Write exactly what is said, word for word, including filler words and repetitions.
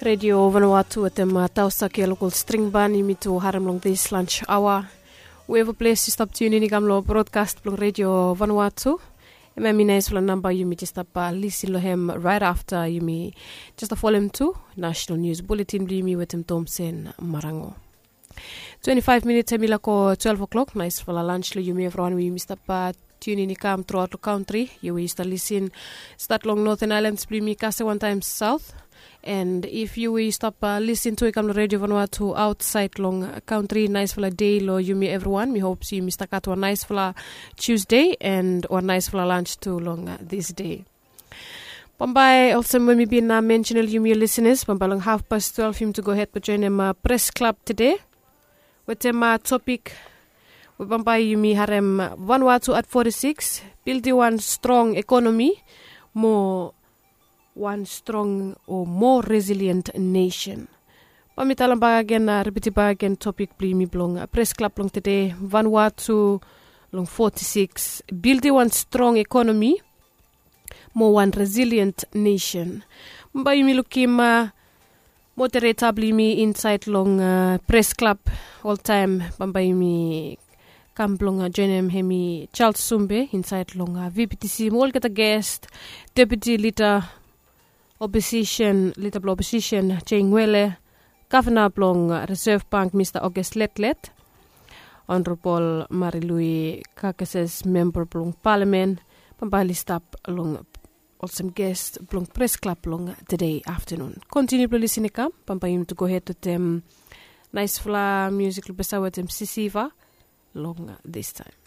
Redio Vanuatu wetem Tausak ya, lokol string ban yumi tu harem long this lunch hour. Wherever ples yu stap tunin i kam long broadcast blong Redio Vanuatu. Em em i naispela namba yumi just stap lisin long hem right after yumi just folem tu national news bulletin blong yumi wetem Tomsen Marango. Twenty-five minutes em i lako twelve o'clock. Naispela lunch long yumi evriwan we yumi stap tunin i kam throughout long country. Yu we yu stap lisin stat long Northern Islands blong yumi kase wantaim South. And if yu we yu stap lisin tu i kam long Radio Vanuatu outside long country, naispela day long yumi evriwan. Mi hope yumi stap gat wan naispela Tuesday and wan naispela lunch tu long this day. Bambae olsem we mi bin mention long yumi listeners, bambae long half past twelve yumi tu go ahead blong joinim Press Club today. Wetem topik we bambae yumi harem Vanuatu at forty-six, building wan strong ekonomi mo wan strong o more resilient nation. Bae mi talem bak agen, ripitim bak agen topik blong yumi blong Press Club long today, Vanuatu long forty-six, building wan strong ekonomi mo wan resilient nation. Bambae yumi lukim moderator blong yumi insait long Press Club oltaim. Bambae yumi kam blong joinim hem i Charles Sumbe insait long VPTC mo olgeta guest, deputy leader opposition, leader blong opposition Jane Wele, governor blong Reserve Bank Mr August Letlet, Honorable Marilui Kakases, member blong parliament. Bambae oli stap long olsem guest blong Press Club long today afternoon. Continue blong lisin i kam, bambae yumi tu go ahead wetem naispela music long besa wetem Sisiva long this time.